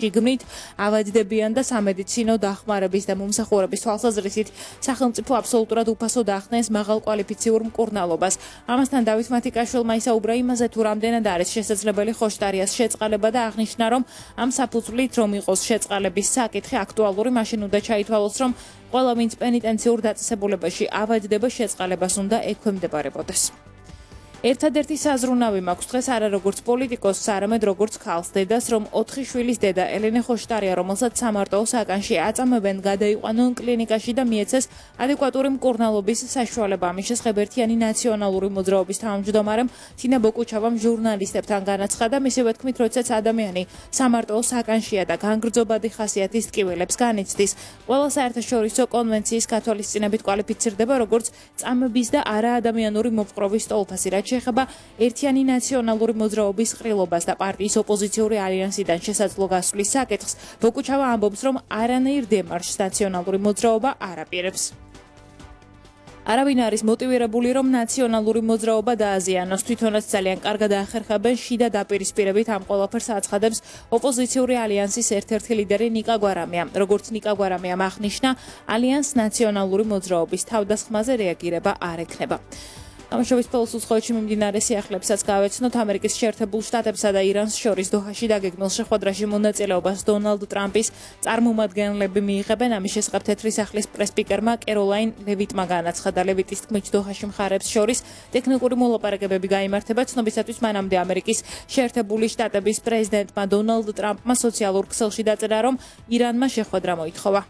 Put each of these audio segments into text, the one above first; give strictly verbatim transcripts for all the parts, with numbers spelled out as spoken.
შიგნით ავადდებიან და სამედიცინო დახმარების და მომსახურების თვალსაზრისით სახელმწიფო აბსოლუტურად უფასოდ ახდენს მაღალკვალიფიციურ მკურნალობას. ამასთან დავით მათიკაშვილმა ისაუბრა იმაზე, თუ რამდენად არის შესაძლებელი ხოშტარიას შეწყალება და აღნიშნა, რომ ამ საფუძვლით რომ იყოს შეწყალების საკითხი აქტუალური, მაშინ უნდა ჩაითვალოს, რომ ყველა ვინც პენიტენციურ დაწესებულებაში ავადდება, შეწყალებას უნდა ექვემდებარებოდეს. ერთადერთი საზრუნავი მაქვს დღეს არა როგორც პოლიტიკოსს, არამედ როგორც ქალს დედას, რომ ოთხი შვილის დედა ელენე ხოშტარია, რომელსაც სამარტოო საკანში აწამებენ, გადაიყვანონ კლინიკაში და მიეცეს ადეკვატური მკურნალობის საშუალება. ამის შესახებ ერთიანი ნაციონალური მოძრაობის თავმჯდომარემ თინა ბოკუჩავამ ჟურნალისტებთან განაცხადა, მისივე თქმით, როდესაც ადამიანი სამარტოო საკანშია და განგრძობადი ხასიათის ტკივილებს განიცდის, ყველა საერთაშორისო კონვენციის გათვალისწინებით კვალიფიცირდება როგორც წამების და არაადამიანური მოპყრობის სტოლფასი, რაც შეეხება ერთიანი ნაციონალური მოძრაობის ყრილობას და პარტიის ოპოზიციური ალიანსიდან შესაძლო გასვლის საკითხს, ბოკუჩავა ამბობს, რომ არანაირ დემარშს ნაციონალური მოძრაობა არ აპირებს. არავინ არის მოტივირებული, რომ ნაციონალური მოძრაობა დააზიანოს, თვითონაც ძალიან კარგად ახერხებენ შიდა დაპირისპირებით ამ ყველაფერს აცხადებს ოპოზიციური ალიანსის ერთ-ერთი ლიდერი ნიკა გვარამია. როგორც ნიკა გვარამიამ აღნიშნა, ალიანს ნაციონალური მოძრაობის თავდასხმაზე რეაგირება არ ექნება. ამჟამად პოლოს უცხოეთში მიმდინარე სიახლეებსაც გავეცნოთ. ამერიკის შეერთებულ შტატებსა და ირანს შორის დოჰაში დაგეგმილ შეხვედრაში მონაწილეობას დონალდ ტრამპის წარმომადგენლები მიიღებენ. ამის შესახებ თეთრი სახლის პრესპიკერმა კეროლაინ ლევიტმა განაცხადა. ლევიტის თქმით, დოჰაში მხარეებს შორის ტექნიკური მოლაპარაკებები გაიმართება. ცნობისათვის მანამდე ამერიკის შეერთებული შტატების პრეზიდენტმა დონალდ ტრამპმა სოციალურ ქსელში დაწერა, რომ ირანმა შეხვედრა მოითხოვა.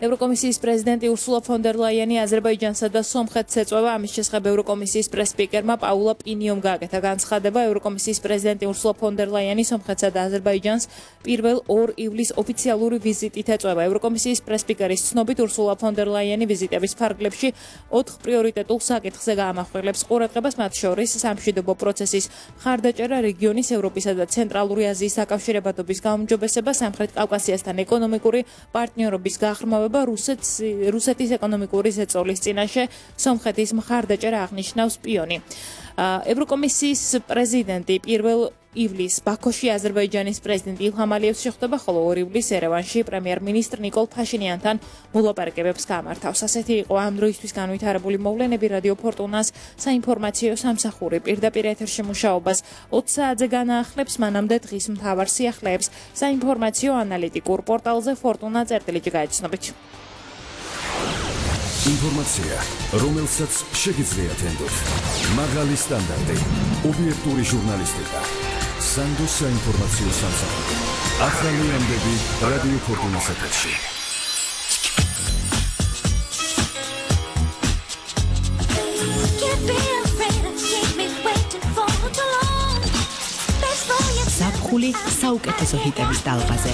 ევროკომისიის პრეზიდენტი ურსულა ფონ დერ ლაიენი აზერბაიჯანსა და სომხეთს ეწვევა. ამის შესახებ ევროკომისიის პრესპიკერმა პაულა პინიომ გააკეთა განცხადება. ევროკომისიის პრეზიდენტი ურსულა ფონ დერ ლაიენი სომხეთსა და აზერბაიჯანს პირველ ორ ივლისს ოფიციალური ვიზიტით ეწვევა. ევროკომისიის პრესპიკერის ცნობით, ურსულა ფონ დერ ლაიენი ვიზიტების ფარგლებში ოთხ პრიორიტეტულ საკითხზე გაამახვილებს ყურადღებას, მათ შორის სამშვიდობო პროცესის მხარდაჭერა, რეგიონის, ევროპისა და ცენტრალური აზიის დაკავშირებადობის გაუმჯობესება, სამხრეთ კავკასიასთან ეკონომიკური პარტნიორობის გაღრმავება, რუსეთს რუსეთის ეკონომიკური ზეწოლის წინაშე სომხეთის მხარდაჭერა აღნიშნავს პიონი. ევროკომისიის პრეზიდენტი პირველ ივლისს ბაქოში აზერბაიჯანის პრეზიდენტ ილჰამ ალიევს შეხვდება, ხოლო ორ ივლისს ერევანში პრემიერ-მინისტრ ნიკოლ ფაშინიანთან მოლაპარაკებებს გამართავს. ასეთი იყო ამ დროისთვის განვითარებული მოვლენები. რადიო ფორტუნას საინფორმაციო სამსახური პირდაპირ ეთერში მუშაობას ოც საათზე განაახლებს, მანამდე დღის მთავარ სიახლეებს საინფორმაციო ანალიტიკურ პორტალზე ფორტუნა წერტილით გაეცნობით. ინფორმაცია, რომელსაც შეგიძლიათ ენდოთ. მაღალი სტანდარტი, ობიექტური ჟურნალისტიკა. სანდოს საინფორმაციო სამსახური. ახალი ამბები რადიო ფორტუნას ეთერში. ზაფხული საუკეთესო ჰიტების დალღაზე.